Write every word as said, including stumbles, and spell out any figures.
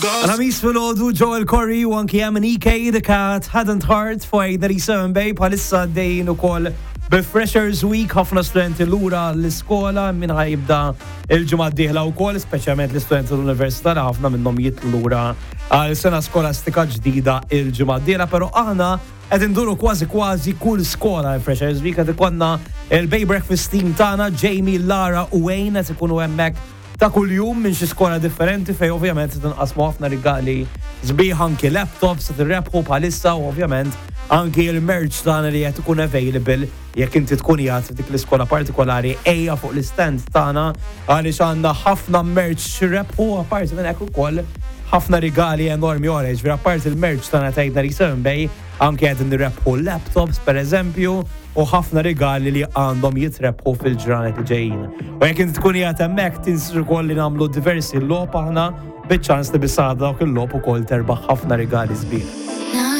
Għal-Ħamis filgħodu Joel Corry u anki M N E K, The Cat, Hadn't Heart fuq eight ninety-seven Bay. Bħalissa għaddejjin ukoll bi-Freshers Week, ħafna studenti lura l-iskola, min ħa jibda il-ġimgħa d-dieħla wkoll, speċjalment l-istudenti l-università li ħafna minnhom jitilgħu lura għal sena skolastika ġdida il-ġimgħa d-dieħla, però aħna qed induru kważi kważi kull skola il-Freshers Week. Qed ikollna il-Bay Breakfast Team tagħna, Jamie, Lara u Wayne, qed ikunu hemmhekk ta' kuljum minn xi skola differenti, fej ovvjament se tinqasmu ħafna rigali sbieħ, anki laptops se tirrebħu bħalissa u ovvjament anki il-merch tagħna li qed ikun available. Jekk inti tkun qiegħed f'dik l-iskola partikolari, ejja fuq l-stand tagħna għaliex għandna ħafna merch x'rebħu, apparti minn hekk ukoll ħafna rigali enormi oħra, ġifieri apparti il-merch tagħna ta' eight ninety-seven Bay, anke qed nirrebħu laptops per eżempju u ħafna rigali li għandhom jitrebħu fil-ġranet li ġejjin. U jekk inti tkun qiegħed hemmhekk, tinsiex ukoll li nagħmlu diversi logħob aħna, biċ-ċans li bis-saħħa dawk il-logħob ukoll terbaħ ħafna rigali sbieħ.